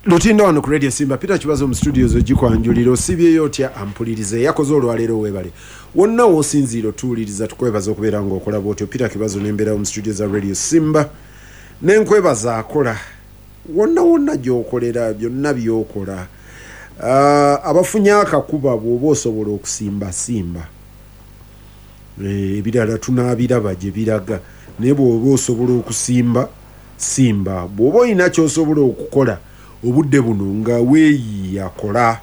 Lutindo wano ku Radio Simba. Peter Kibazo mu studios ogikwanjulira. Osiibyeyo otya ampuliriza eyakoze olwaleero? Weebale wonna w'osinziira otuwuliriza, tukwebaza okubeera ng'okola bwotyo. Peter Kibazo nembeerawo mu studio za Radio Simba, nenkwebaza akola wonna wonna gy'okolera byonna by'okola. Abafunye akakuba, bw'oba osobola okusimba simba. Ebirala tunaabiraba gye biraga, naye bw'oba osobola okusimba simba. Bw'oba olina ky'osobola okukola obudde buno nga weeyiiya, kola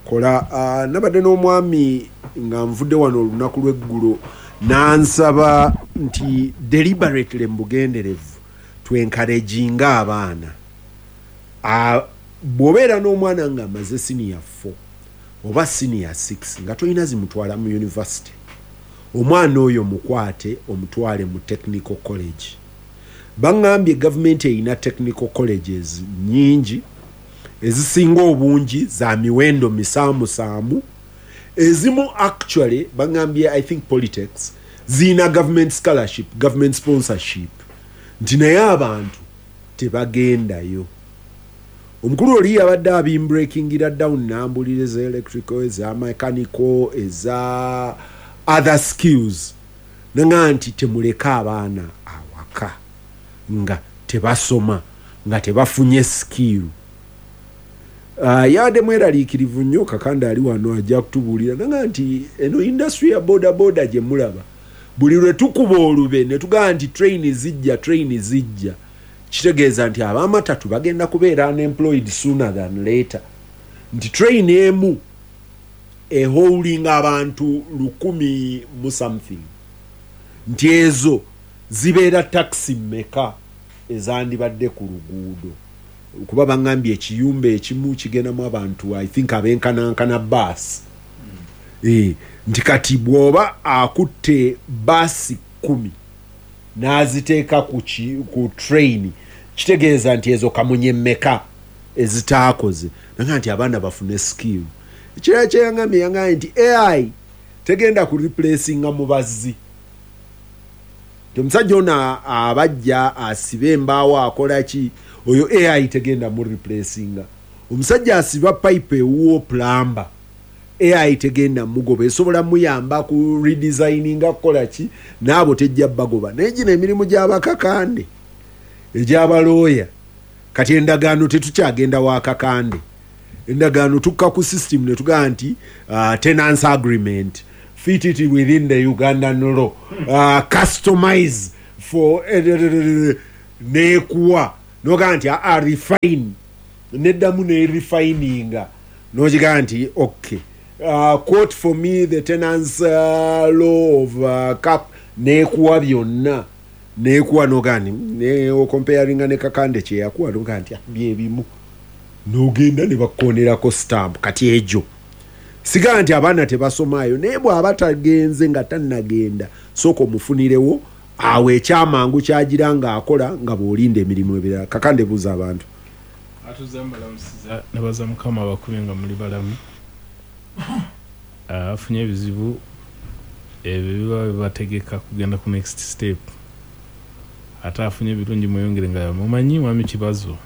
kola. Nabadde n'omwami nga nvudde wano olunaku lw'eggulo, n'ansaba nti deliberately, mu bugenderevu, twencouraginga abaana. Bw'obeera n'omwana ng'amaze senior 4 oba senior 6 nga tolina zimutwala mu university, omwana oyo mukwate omutwale mu technical college. Baŋŋambye gavumenti erina technical colleges nyingi, ezisinga obungi za miwendo misaamusaamu. Ezimu actually baŋŋambye, I think polytechs ziyina government scholarship, government sponsorship, nti naye abantu tebagendayo. Omukulu oli yabadde abimbreakingira down, nambulira eza electrical, eza mechanical, eza other skills, naŋa nti temuleke abaana awaka nga tebasoma, nga tebafunye skill. Yabadde mweraliikirivu nnyo. Kakanda ali wano ajja kutubuulira. Naga nti eno industry ya boda boda gye mulaba, buli lwe tukuba olube ne tugamba nti train zijja, train zijja, kitegeeza nti abamatatu bagenda kubeera unemployed sooner than later, nti train emu ehaulinga abantu 1000 mu something, nti ezo zibeera taxi mmeka ezandibadde ku luguudo? Kuba baŋŋambye ekiyumba ekimu kigendamu abantu, I think, abenkanankana baasi. Nti kati bw'oba akutte baasi 10 n'aziteeka ku train, kitegeeza nti ezo kamunye mmeka ezitaakoze? Naga nti abaana bafune skill. Ekirala kyeyaŋambye, yaŋambye nti AI tegenda ku replacinga mubazzi, nti omusajja ono abajja asiba embaawo akola ki, oyo AI tegenda mu replacinga. Omusajja asiba pipe ewuwo, plumber, AI tegenda mugoba, esobola muyamba ku redesigninga, kukola ki, naabo tejja bagoba. Naye gino emirimu gy'abakakande, egy'abalooya, kati endagaano tetukyagenda wakakande, endagaano tukka ku system ne tugamba nti tenancy agreement, fit it within the Ugandan law, customize for nekuwa, nogamba nti refine, neddamu nerefininga, nogigamba nti okay, quote for me the tenants law of cap, nekuwa byonna, nekuwa, nogamba nti ne ocomparinga ne kakande kyeyakuwa, nogamba nti byebimu, nogenda ne bakonerako stamp. Kati egyo sigala nti abaana tebasomaayo, naye bw'aba tagenze nga tannagenda, sooka omufunirewo awo ekyamangu kyagira ng'akola nga bw'olinda emirimu ebirala. Kakande, buuza abantu. Atuze mbalamusiza, nebaza Mukama abakubye nga muli balamu. Afunye ebizibu ebyo biba bibategeka kugenda ku next step, ate afunye ebirungi mweyongere. Nga mumanyi, mwami Kibazo,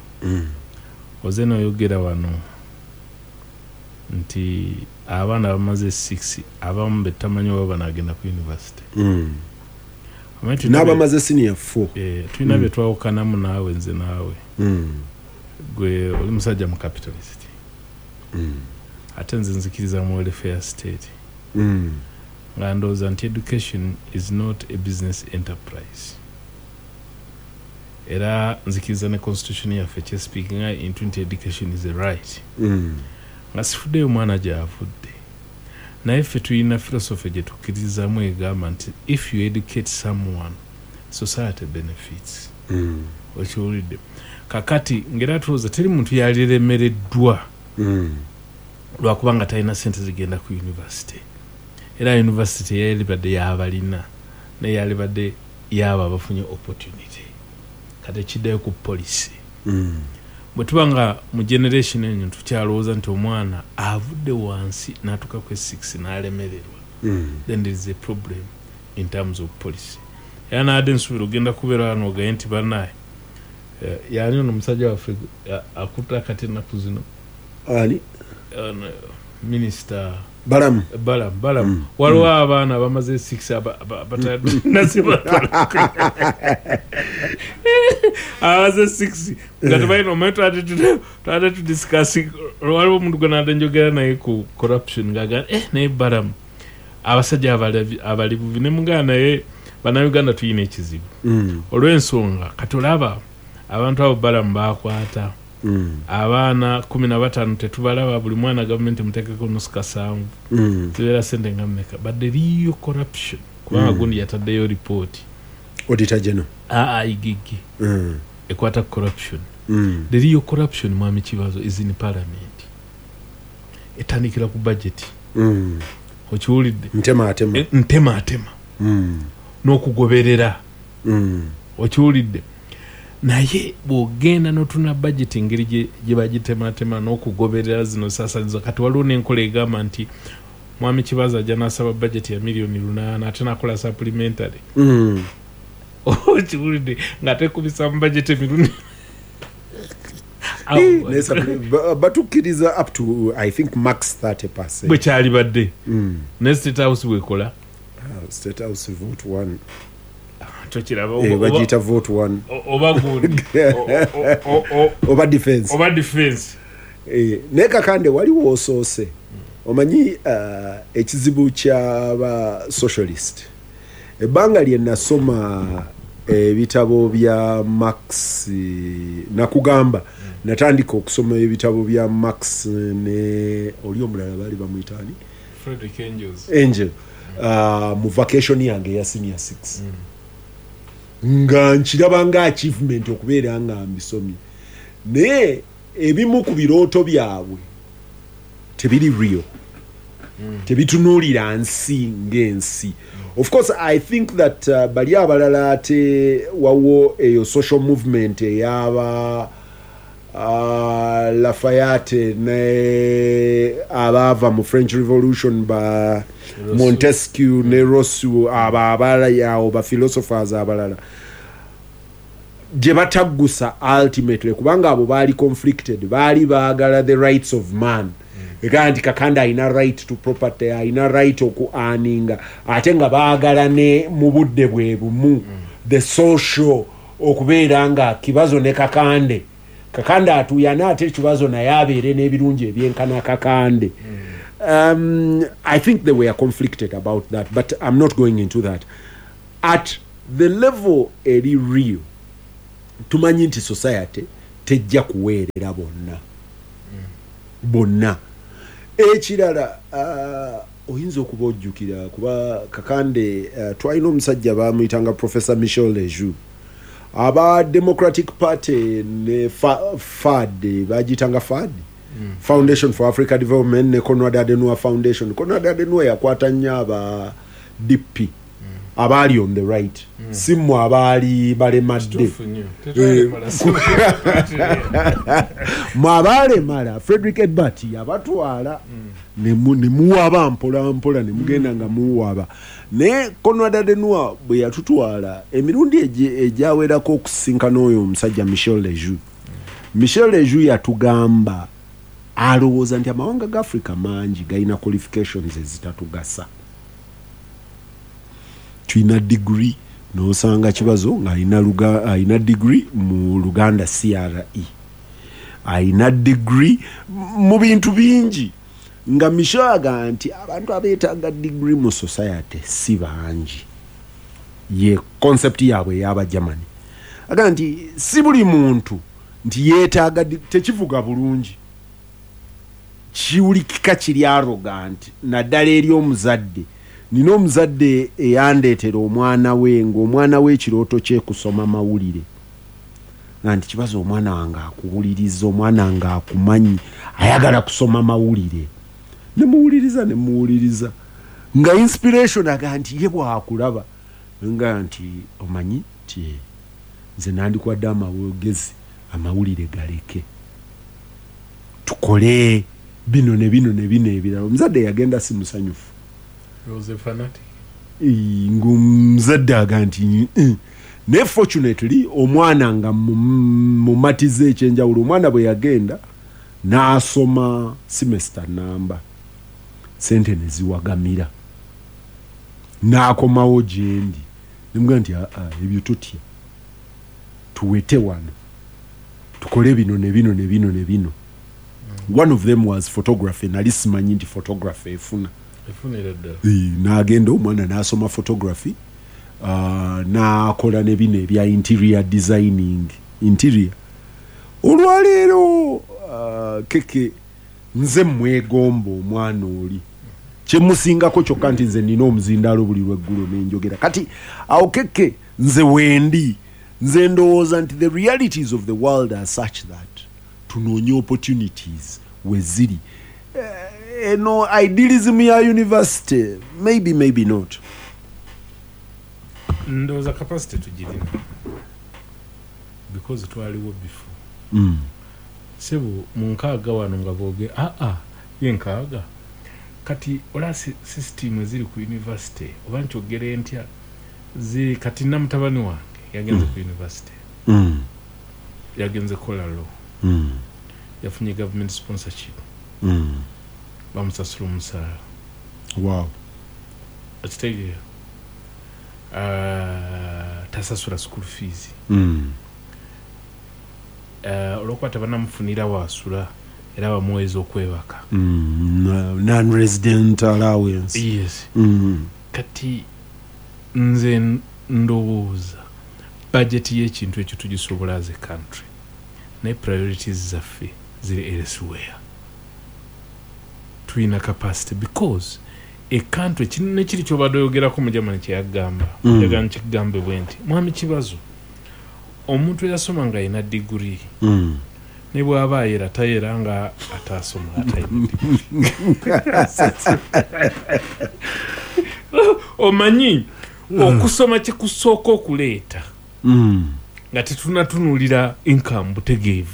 oze noyogera wano nti abaana bamaze 6, abamu betamanyi oba banagenda ku university. Omanyi n'abamaze senior 4. Tulina bye twawukanamu naawe, nze naawe. Gwe oli musajja mu capitalist, ate nze nzikiriza mu welfare state, nga ndowooza nti education is not a business enterprise. Era nzikiriza ne constitution yaffe kyespeakinga into nti education is a right, nga sifuddeyo omwana gyavudde. Naye ffe tulina philosophy gye tukkiririzaamu egamba nti if you educate someone, society benefits. Okiwulidde? Kakati ngera tulowooza teri muntu yaliremereddwa lwakuba nga talina sente zigenda ku university. Era university teyalibadde yabalina, naye yalibadde yaabo abafunye opportunity. Kati ekiddayo ku policy, bwe tuba nga mu generation eno tukyalowooza nti omwana avudde wansi n'atuuka ku 6 n'alemererwa, then there is a problem in terms of policy. Era naadde nsuubira ogenda kubeera wano ogaye nti bannaye, Yani ono omusajja waffe akutte akati ennaku zino. Ani? Minisita Balamu. Balamu. Waliwo abaana bamaze 6 abaze 6 nga tebalina omanyi twate tudiscuss. Waliwo omuntu gwe nadde njogera naye ku corruption ng'agamba naye Balamu abasajja abali bubi ne mugamba naye bannayuganda tuyina ekizibu olw'ensonga kati olaba abantu abo Balamu bakwata abaana 15 tetubalaba, buli mwana gavumenti muteekeko nusu kasanvu zibeera sente nga mmeka, but the real corruption kubanga gundi yataddeyo ripooti Auditor General IGG ekwata corruption. The real corruption, Mwami Kibazo, is in parliament. Etandikira ku budget. Okiwulidde? Ntema atema. Ntema atema n'okugoberera. Okiwulidde? Naye bw'ogenda n'otuna budget engeri gye bagitematema n'okugoberera zino saasanyizo, kati waliwo n'enkola egamba nti Mwami Kibazo ajja n'asaba budget ya miliyoni 8 ate n'akola supplementary. Okiwulidde? Ng'ate kubisa mu budget emirundi Batukkiriza up to, I think, max 30. Bwe kyalibadde. Ne State House bwekola. State House vote one. Tokiraba? Bagiyita vote one. Oba gundi oba defense. Oba defense. Naye Kakande, waliwo osoose omanyi ekizibu kyaba socialist. Ebbanga lye nasoma ebitabo bya Marx, nakugamba natandika okusoma ebitabo bya Marx ne oli omulala baali bamuyitaani? Frederick Engels. Engel, mu vacation yange eya senior 6, nga nkiraba nga achievement okubeera nga mbisomye, naye ebimu ku birooto byabwe tebiri real, tebitunuulira nsi ng'ensi. Of course, I think that bali abalala ate wawo eyo social movement eyaba Lafayette ne abaava mu French Revolution, ba Montesquieu ne Rousseau, abo abalala awo ba philosophers abalala gye bataggusa ultimately, kubanga abo baali conflicted, baali baagala the rights of man, ega nti Kakande alina right to property, alina right oku earninga, ate nga baagala ne mu budde bwe bumu the social okubeera nga Kibazo ne Kakande, Kakande atuuyana ate Kibazo naye abeere n'ebirungi ebyenkana Kakande. I think they were conflicted about that, but I'm not going into that. At the level eri real, tumanyi nti society tejja kuweerera bonna bonna. Ekirala, oyinza okuba ojjukira kuba Kakande, twalina omusajja bamuyitanga Professor Michel Lejoux, aba Democratic Party ne FAD, bagiyitanga FAD, Foundation for Africa Development, ne Conrad Adenauer Foundation. Conrad Adenauer yakwata nnyo aba DP abaali on the right, si mmwe abaali balemadde. Kituufu nnyo. Tetwalemala, Mwe abaalemala, Frederick Ebert yabatwala ne muwaba mpola mpola ne mugenda nga muwaba. Naye Conrad Adenauer bwe yatutwala emirundi egyawerako okusisinkana oyo omusajja Michel Lejoux, Michel Lejoux yatugamba alowooza nti amawanga ga Africa mangi galina qualifications ezitatugasa. Tulina degree, nosanga Kibazo ng'alina alina degree mu Luganda CRE, alina degree mu bintu bingi, nga Michel agamba nti abantu abeetaaga degree mu society si bangi. Ye concept yaabwe ey'Abagermany agamba nti si buli muntu nti yeetaaga tekivuga bulungi, kiwulikika kiri arrogant, naddala eri omuzadde. Nina omuzadde eyandeetera omwana we, ng'omwana we ekirooto kye kusoma mawulire, nga nti, "Kibazo, omwana wange akuwuliriza, omwana wange akumanyi, ayagala kusoma mawulire." Nemuwuliriza, nemuwuliriza, nga inspiration aga nti ye bwakulaba nga nti omanyi ti nze nandikwadde amagezi, amawulire galeke, tukole bino ne bino ne bino ebirala. Omuzadde yagenda si musanyufu. He was a fanatic. Ng'omuzadde aga nti, Naye fortunately omwana nga mumatiza ekyenjawulo, omwana bwe yagenda n'asoma semester namba, sente ne ziwagamira, n'akomawo gyendi nemugamba nti aa, ebyo totya, tuwete wano tukole bino ne bino ne bino ne bino. One of them was photography. Nali simanyi nti photography efuna. Efunira ddala. N'agenda omwana n'asoma photography, n'akola ne bino ebya interior designing, interior. Olwaleero keke nze mwegomba omwana oli, kyemusingako kyokka nti nze nina omuzindaalo buli lweggulo nenjogera. Kati awo keke nze wendi, nze ndowooza nti the realities of the world are such that tunoonye opportunities weziri. Eno idealism ya university, maybe, maybe not. Ndowooza capacity tugirina because twaliwo before. Sebo, mu 60 wano nga booge aa ye 60, kati ola system eziri ku university, oba nkyogere ntya, ziri kati na mutabani wange yagenze ku university, yagenze kola law, yafunye government sponsorship, bamusasula omusaala. Okitegeera? Tasasula school fees. Olwokuba tebanamufunira wasula, era bamuweeza okwebaka. Non-resident allowance. Yes. Kati nze ndowooza budget y'ekintu ekyo tugisobola as a country, naye priorities zaffe ziri elsewhere. Tulina capacity because a country kino kiri kyobadde oyogerako mu Germany kyeyagamba. Njagala nkigambe bwe nti, mwami Kibazo, omuntu eyasoma nga alina diguri, ne bw'aba ayera tayera nga atasoma atalina diguri. Omanyi okusoma kikusooka okuleeta nga tetunatunulira income butegeevu,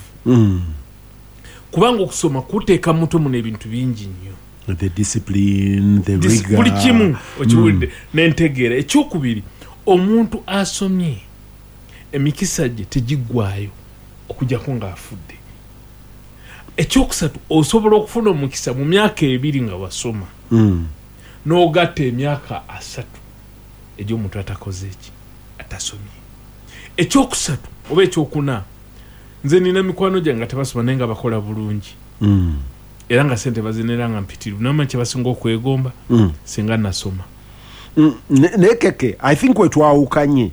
kubanga okusoma kuteeka mutwe muno ebintu bingi nnyo. The discipline, the rigor. Buli kimu okiwulidde n'entegeera. Ekyokubiri, omuntu asomye emikisa gye tegiggwayo okujjako ng'afudde. Ekyokusatu, osobola okufuna omukisa mu myaka 2 nga wasoma, n'ogatta emyaka 3 egy'omuntu atakoze eki, atasomye. Ekyokusatu oba ekyokuna, nze nina mikwano gyange nga tebasoma naye nga bakola bulungi, era nga sente bazinera nga mpitirivu, namanyi kye basinga okwegomba, singa nasoma. Naye keke, I think wetwawukanye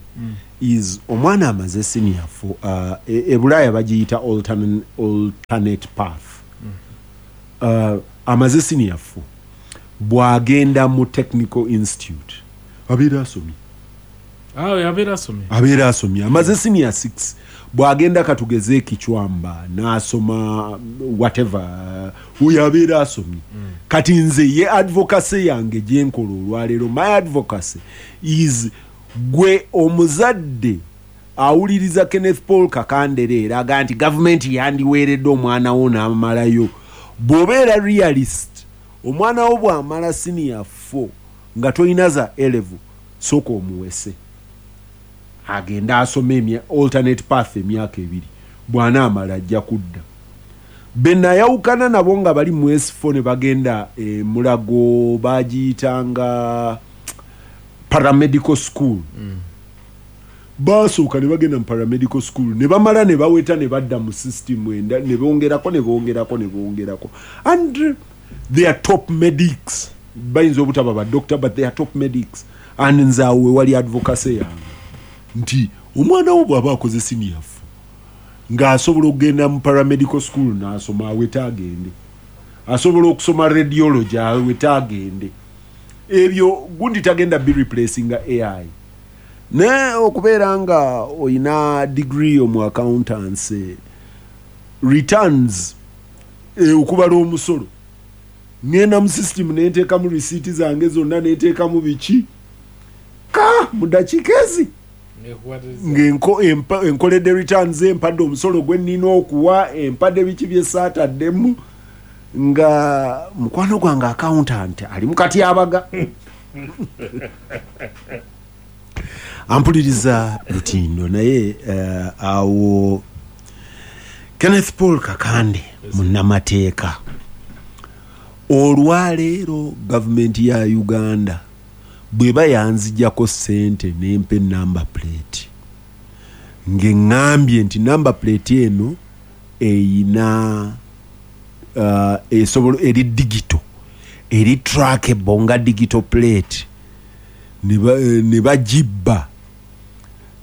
is omwana amaze senior four, e Bulaaya bagiyita alternate path. Amaze senior 4, bw'agenda mu technical institute abeera asomye. Abeera asomye. Abeera asomye. Amaze senior 6, bw'agenda katugeze ekichwamba n'asoma whatever, oyo abeera asomye. Kati nze ye advocacy yange gyenkola olwaleero, my advocacy is gwe omuzadde awuliriza Kenneth Paul Kakande era aga nti gavumenti yandiweeredde omwana wo n'amalayo. Bw'obeera realist, omwana wo bw'amala senior 4 nga tolina za A level, sooka omuwese agende asome alternate path emyaka 2, bw'anaamala ajja kudda. Be nayawukana nabo nga bali mu S4 ne bagenda e Mulago, bagiyitanga paramedical school. Basooka ne bagenda mu paramedical school ne bamala ne baweta ne badda mu system enda, ne bongerako ne bongerako ne bongerako, and they are top medics. Bayinza obutaba ba doctor, but they are top medics. And nze awo we wali advocacy yange nti omwana wo bw'aba akoze senior 4 ng'asobola okugenda mu paramedical school n'asoma, awete agende. Asobola okusoma radiology, awete agende. Ebyo gundi tagenda be replacing AI. Naye okubeera nga oyina degree mu accountancy, returns, okubala omusolo, ngenda mu system nenteekamu receipt zange zonna, nenteekamu biki ka mu dakiika ezi ng'enkoledde returns, empadde omusolo gwe nnina okuwa, empadde biki bye saataddemu, nga mukwano gwange accountant ali mu katyabaga. Ampuliriza lutindo naye awo Kenneth Paul Kakande munnamateeka. Olwaleero gavumenti ya Uganda bweba yanzijjako ssente nempa enumber plate, ng'eŋŋambye nti number plate eno eyina esobola eri digital, eri trackable nga digital plate, ne bagibba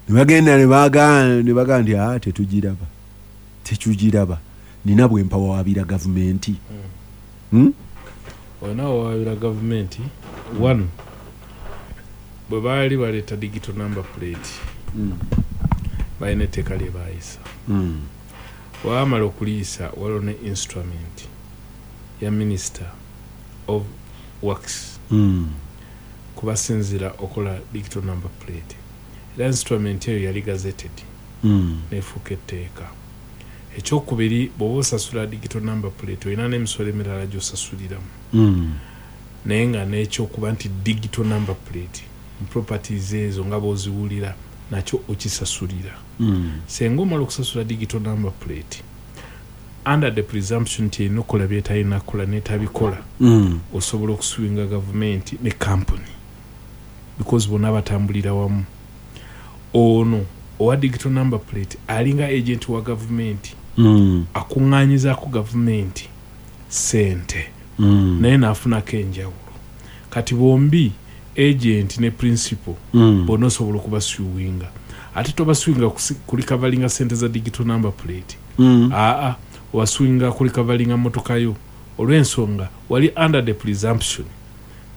ne bagenda ne bagaa nti aa tetugiraba, tetugiraba, nina bwe mpawaabira gavumenti. Olina wawaabira gavumenti. One, bwe baali baleeta digital number plate, balina etteeka lye baayisa. Bwe bamala okuliyisa, waliwo ne instrument ya Minister of Works kubasinzira okola digital number plate, era instrument eyo yali gazetted nefuuka etteeka. Ekyokubiri, bw'oba osasula digital number plate, olina n'emisolo emirala gy'osasuliramu, naye nga n'ekyokuba nti digital number plate mu properties ezo nga bw'oziwulira nakyo okisasulira. Senga omala okusasula digital number plate under the presumption nti erina okukola byetalina kukola netabikola, osobola okusuinga gavumenti ne company because bonna batambulira wamu. Ono owa digital number plate alinga agent wa gavumenti, akuŋŋaanyizaako gavumenti sente, naye n'afunako enjawulo. Kati bombi, agent ne principal, bonna osobola okubasuinga. Ate tobasuinga kurecoveringa sente za digital number plate. Aa, obasuinga kurecoveringa motoka yo, olw'ensonga wali under the presumption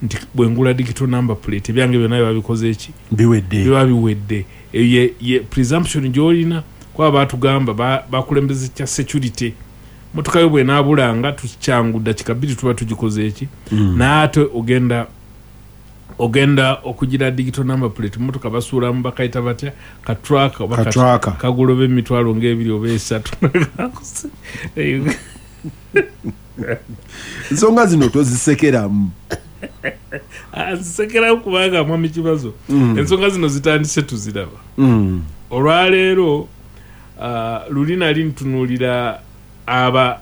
nti bwengula digital number plate, ebyange byonna biba bikoze eki? Biwedde. Biba biwedde. Eyo ye presumption gyolina, kuba batugamba bakulembeza kya security. Motoka yo bwenaabulanga, tukyangu dakika 2 tuba tugikoze eki? Naye ate ogenda okugira digital number plate, motoka basuulamu bakayita batya, katracker oba Katracker. Kagula oba emitwalo ngaebiri oba esatu. Ensonga zino tozisekeramu. Nzisekeramu kubanga, mwami Kibazo, ensonga zino zitandise tuziraba. Olwaleero luli nali ntunuulira aba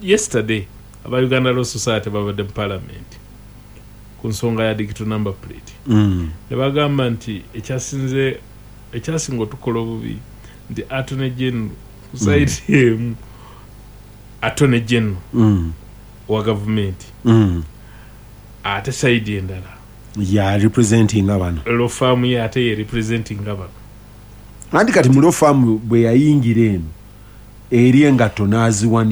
yesterday aba Uganda Law Society babadde mu parliament ku nsonga ya digital number plate, ne bagamba nti ekyasinga otukola obubi nti attorney general ku side emu, attorney general wa gavumenti, ate side endala ya representing bano. Law firm ye ate ye representing bano. Anti kati mu law firm bwe yayingira eno eri engatto n'aziwanika.